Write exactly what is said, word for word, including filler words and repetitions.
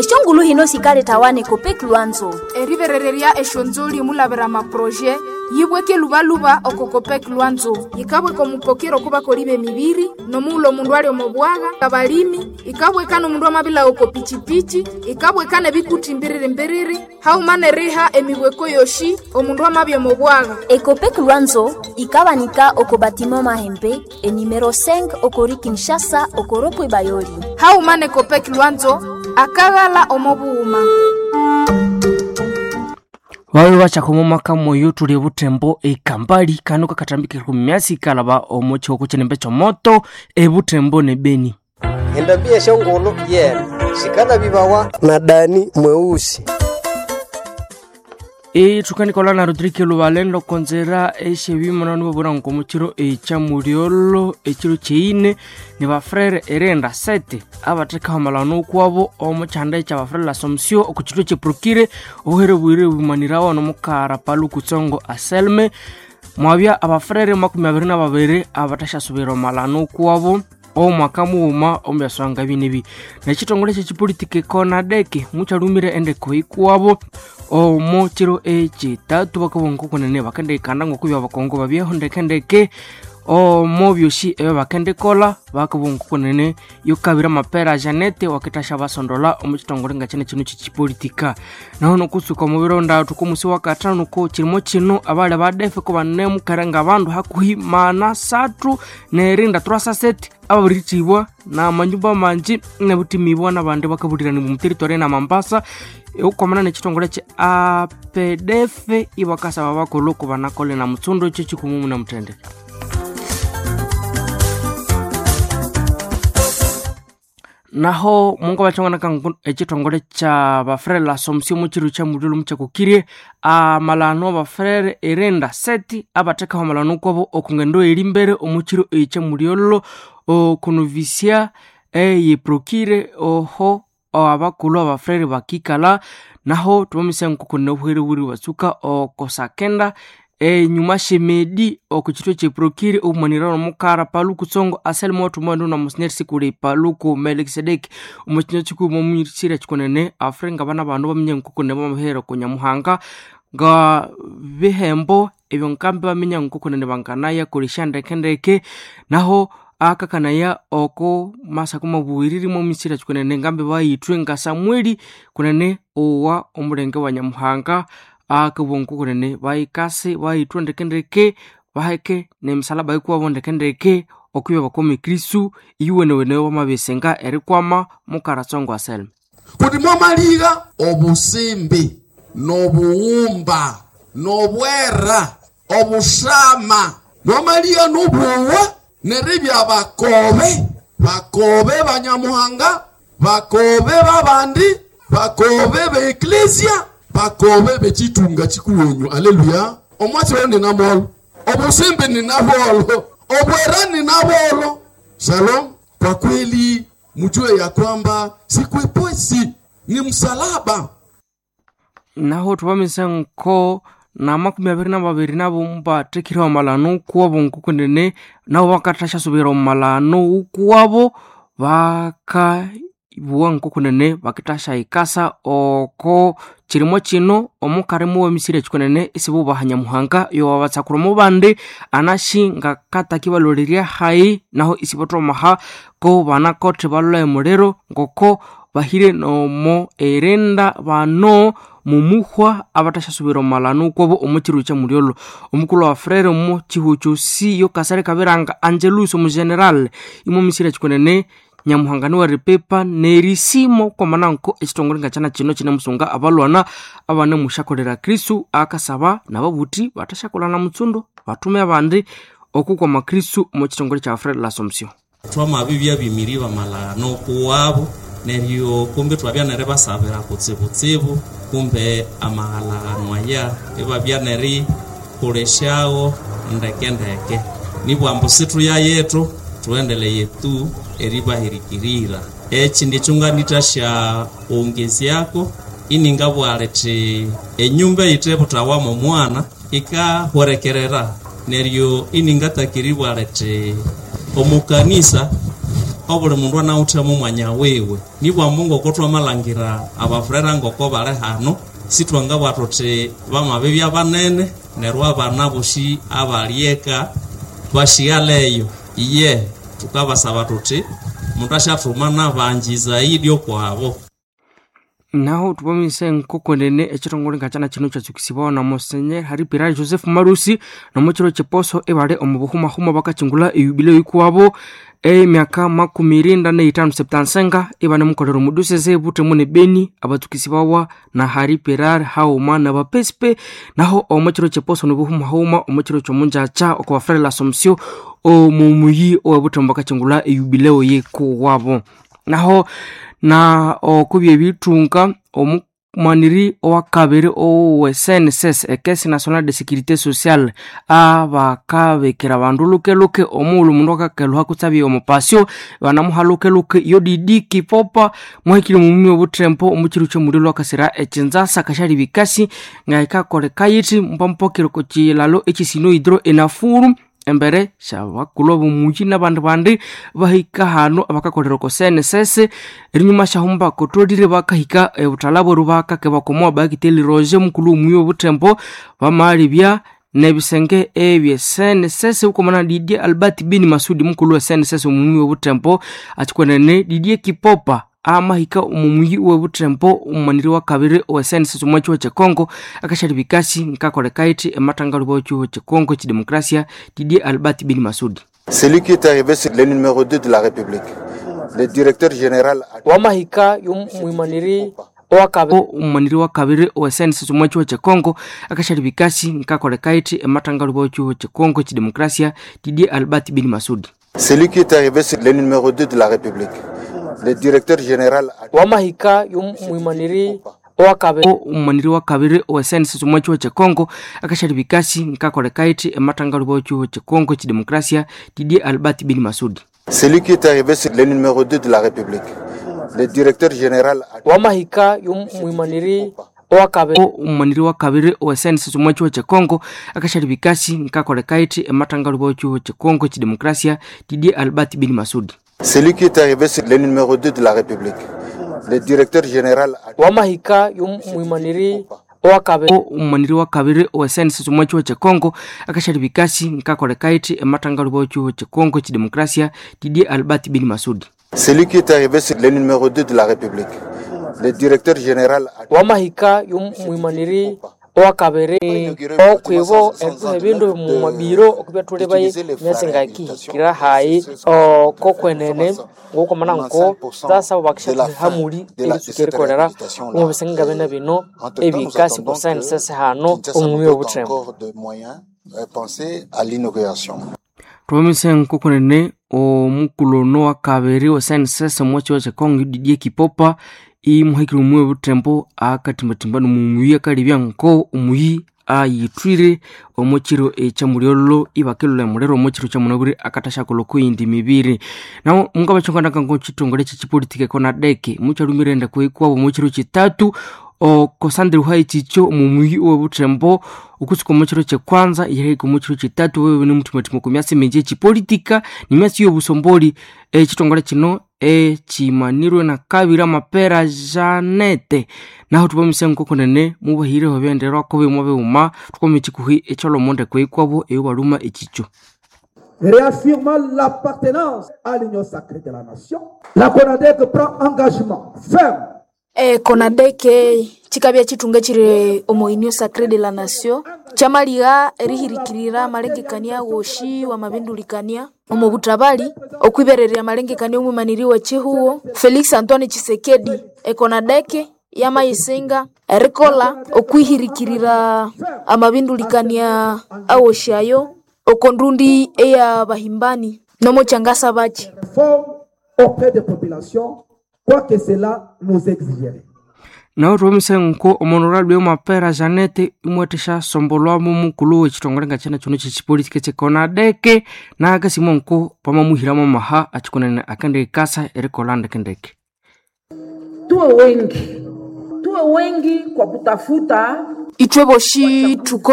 Eshongulu hino sikaletawa ne Copec Lwanzo. Eriberererya eshonzoli mulavira maproje yibweke lubaluba oko Copec Lwanzo yikabweka omupokero kubakoli b'emibiri nomuula omundu ali omo bwaga abalimi ikabweka n'omundu amabila oko pichipichi ikabweka n'ebikuti mbiriri mbiriri hauma neriha emibweko yoshi omundu amabya omo bwaga. Ecopec Lwanzo ikabanika oko batiment Mahembe enumero cinq okori Kinshasa okoropwe Bayoli. Hauma ne Copec Lwanzo akaghala omo bughuma. Bawe bachakho maka moyo tuli butembo ekambali kano kakatambikira ku myasi kalaba omo choko chenembe chomoto ebutembo ne Beni. Endabia shongolo yena sikala bibawa na Dani mweusi. E tukanikola na Rodrigue Lubalendo konzera eshe bimona nibobora nkomuchiro echa muriolo echiro cheine ni bafrere erenda sete abateka malano kwabo omuchanda echa bafrere la Somsio okuchiro che prokire ohere bwire bumanirawo no mukara paluku tsongo aselme mwabya abafrere makumi abiri na babiri abatashasubira malano kwabo omwaka mughuma ombyaswanga binebi nekitongole kyekipolitiki konadeke mukyalumire endeko ikuwabo omo kiro ekitatu bakabonga kunene bakendikanda ngokubya abakongo babyeho ndekendeke omo byosi ebyo bakendikolha bakabonga kunene yokabira amapera Janete wakitasha basondola omu kitongole nga kyene kino kyekipolitika. Naho nokusuka omubiro ndatu komusi wakathanu ko kirimo kino abali badefe ko banemukere nga bandu hakuhi mana satu nerinda turasaseti ababirithibwa namanyumba manji nabutimibwa nabandi bakabulirani mu territory na Mambasa ukwamana nekitongole kye A P D F ibakasaba bakolhu ko banakole na mutsundo ekyo kikumumu na mutende. Naho mungu bachongana kangu ekitongole kya bafrere la Somsio muchiru kya mululu muchakukirie amalano bafrere erenda seti abatekaho amalano kwabo okungendo eri mbere omuchiru ekya mulyolo okunovisia eyeprokire oho abakulhu abafrere bakikala naho tubamisa nkukune obuhere buri batsuka okosakenda enyuma shemedi okuchitwe cheprokiri obumanirano omukara paluku tsongo aselmo otumwandu na monsignor sikuli paluku Melkisedeki omukinywa kikuuma omumisira kikunene afre nga bana bandu baminya nkukune bamahera kunyamuhanga nga bihembo ebyo nkambi baminya nkukunene banganaya kolesha ndekendeke naho akakanaya oko masako mabuwiriri momisira kikunene ngambi bayithwe nga Samueli kunene owa omulenge wa Nyamuhanga akabongo kunene bayikase bayithwe ndekendeke baheke nemisalaba ikuwabo ndekendeke okubya bakome Kristu iwenewene wamabisenga erikwama mukaratsongo aselme kuti mwamalira obusimbi n'obuwumba n'obwera obushama mwamalira n'obuwa neribya bakobe bakobe banyamuhanga bakobe babandi bakobe beeklesia bakobe bechitunga chikuwenyu. Aleluya. Omwatsi wayo ninamolo obusimbi ninabolo obwera ninabolo. Shalom. Kwa kweli mjue ya kwamba sikwepesi ni msalaba. Naho tubamisa nko na makumi abiri na babiri nabo mbathekire omalano kuwabo nkukunene nabo bakathasya omalano ukuwabo bakabuwa nkukunene bakithasya ikasa oko kirimo kino omukarimu wemisiri ekikunene isibubaha Nyamuhanga yowabatsakura omubandi anashi ngakataki balolerya hayi naho isibathomaha ko banakothe balolha emuliro ngoko bahire nomo erenda bano mumuhwa abathasyasubira omalano kwabo omukiru kya mulyolo omukulhu wa frere omo kihu kyosi yokasale kabiranga Angelus omugeneral imomisiri ekikunene Nyamuhanga niweripipa nerisimo kwamananko ekitongole nga kyana kino kinemusunga abalwana abanemusyakolera Kristu akasaba nababuthi bathasyakolana mutsundo bathume abandi okukwama Kristu omu kitongole kya Frere l'Assomption. Twamabibya bimiri bamalano kuwabo neryo kumbe twabya neribasabira kutsibutsibu kumbe amahalano aya ibabya nerikolesyawo ndekendeke nibwambu situya yetu tuendeleye tu eribahirikirira ekindi ekyonganithasya ongezyako iningabwala thi enyumba eyithebuthawamu omwana ikahwerekerera neryo iningatakiribwala thi omukanisa obuli mundu anawuthemu omwanya wiwe. Nibwa Mungu oko twamalangira abafurera ngoko bali hano, sitwangabwa thuthi bamabibya banene neryo abana bosi abalieka bashighaleyo. Iye tukabasaba thuthi mundu asyathuma nabangi zaidi okwabo. Naho tupamise nkokwenene ekitongole ngakyana kino kyatsukisibawa na Monsenyer Hari Pirari Joseph Marusi nomukiro kyeposo ebali omu buhumahuma bakachingula eyubileo ikuwabo emyaka makumi irinda neitano septansenga ibanemukolera omudusese Butembo ne Beni abatsukisibawa na Hari Pirari hauma na bapesipe. Naho omukiro kyeposo nobuhumahuma omukiro kyomunjacha oko bafrere la Assomption omumuyi owe Butembo bakachingula eyubileo yikuwabo. Naho na okubya ebithunga omumaniri owakabiri owe C N S S ekesi National de Sécurité Sociale abakabekera abandu lukeluke omughulhu omundu akakelhuha kutsabya omupasyo banamuha lukeluke yo Didi Kipopa muhikire omumi obuthembo omukiru kyomuliro akasira ekinzasa kashali bikasi ngaikakoleka yithi mpampokere okukilalo ekisino hidro enafuru embere syabakulhu abomuyi nabandi bandi bahika hano abakakolera oko C N S S erinyuma syahuma bakotolire bakahika ebuthalha bweru bakake bakomowa bakiteli Roger mukulhu omuyi obuthembo bamalibya nebisenge ebye C N S S bukomana Didier Albert Bin Masudi mukulhu wa C N S S omuyi obuthembo akikwenene Didier Kipopa amahika omumuyi webuthembo omumaniri wa kabiri owe C N S S omu kyihugho kyekongo akashali bikasi nkakoleka yithi ematangalu bwa kyihugho kyekongo kyidemokrasia Didier Albert Bin Masudi. Celui qui est arrivé, c'est le numéro deux de la République. Le directeur général wamahika y'omwimaniri owakabiri omumaniri wa kabiri owe C N S S omu kyihugho kyekongo akashali bikasi nkakoleka yithi ematangalu bwa kyihugho kyekongo kyidemokrasia Didier Albert Bin Masudi. Celui qui est arrivé, c'est le numéro deux de la République. Le directeur général wamahika y'omwimaniri owakabiri omumaniri wa kabiri owe C N S S omu kyihugho kyekongo akashali bikasi nkakoleka yithi ematangalu bwa kyihugho kyekongo kyidemokrasia Didier Albert Bin Masudi. Celui qui est arrivé, c'est le numéro deux de la République. Le directeur général wamahika y'omwimaniri owakabiri omumaniri wa kabiri owe C N S S omu kyihugho kyekongo akashali bikasi nkakoleka yithi ematangalu bwa kyihugho kyekongo kyidemokrasia Didier Albert Bin Masudi. Celui qui est arrivé, c'est le numéro deux de la République. Le directeur général wamahika y'omwimaniri owakabiri omumaniri wa kabiri owe C N S S omu kyihugho kyekongo akashali bikasi nkakoleka yithi ematangalu bwa kyihugho kyekongo kyidemokrasia Didier Albert Bin Masudi. Celui qui est arrivé, c'est le numéro deux de la République. Le directeur général wamahika y'omwimaniri owakabiri okwibo ebindu mumabiro okubyathuli myasi ngakihikira hayi okokwenene ngokomana nko tsasaba bakisha hamuli eritsuka erikolera omu bisenge nga bene bino ebikasi ku C N S S hano omumi obuthembo. Twamise nkokunene omukulhu ono wakabiri wa C N S S omu kyihugho kyekongo Didier Kipopa imuhikire omuyi obuthembo akatimbatimba nomumuyi akalebya nko omuyi ayithwire omu kiro ekyamulyolho ibakelula emuliro omu kiro kyamunabwire akathasyakolha okuyindi mibiri. Naho mungabakyanganaka nko kitongole kyekipolitika ekonadeke mukyalumire endeko ikuwabo omu kiro kitatu okosandire ekikyo omumuyi owebuthembo okutsuka omu kiro kyekwanza erihika omu kiro kitatu wewe nimuthimathima okwa myasi mingi ekipolitika nimyasi yobusomboli. Ekitongole kino ekimanirwe na kabiri amapera Janete. Naho tubamise nkokunene mubahireho ebyenderwako bimwe bighuma tukome ekikuhi ekyalhoma ndeko yikwabo eyobaluma ekikyo. Réaffirmant l'appartenance à l'union sacrée de la nation, la CONADEC prend engagement ferme. E, konadeke chikabya chitunga chiri omo union sacrée de la nation chamaliha erihirikirira amalengekania woshi wamabindulikania omo butabali okwibererya amalengekania omwimaniri wa chihuo Felix Antoine Tshisekedi. Ekonadeke yamayisinga erikola okwihirikirira amabindulikania awoshi ayo okondundi eya bahimbani nomo changasa bachi Forme auprès des populations, quoi que cela nous exigerait. Naho tubamise nko omonorable mapera Janete imwetesha sombolwamu mukulhu wekitongole nga kyana kino kyekipolitika kyekonadeke nakasimo nko pamamuhiramu amaha akikunene akendikasa erikolha ndekendeke. Tuwe wengi, tuwe wengi kwa kutafuta Itwe boshi tuko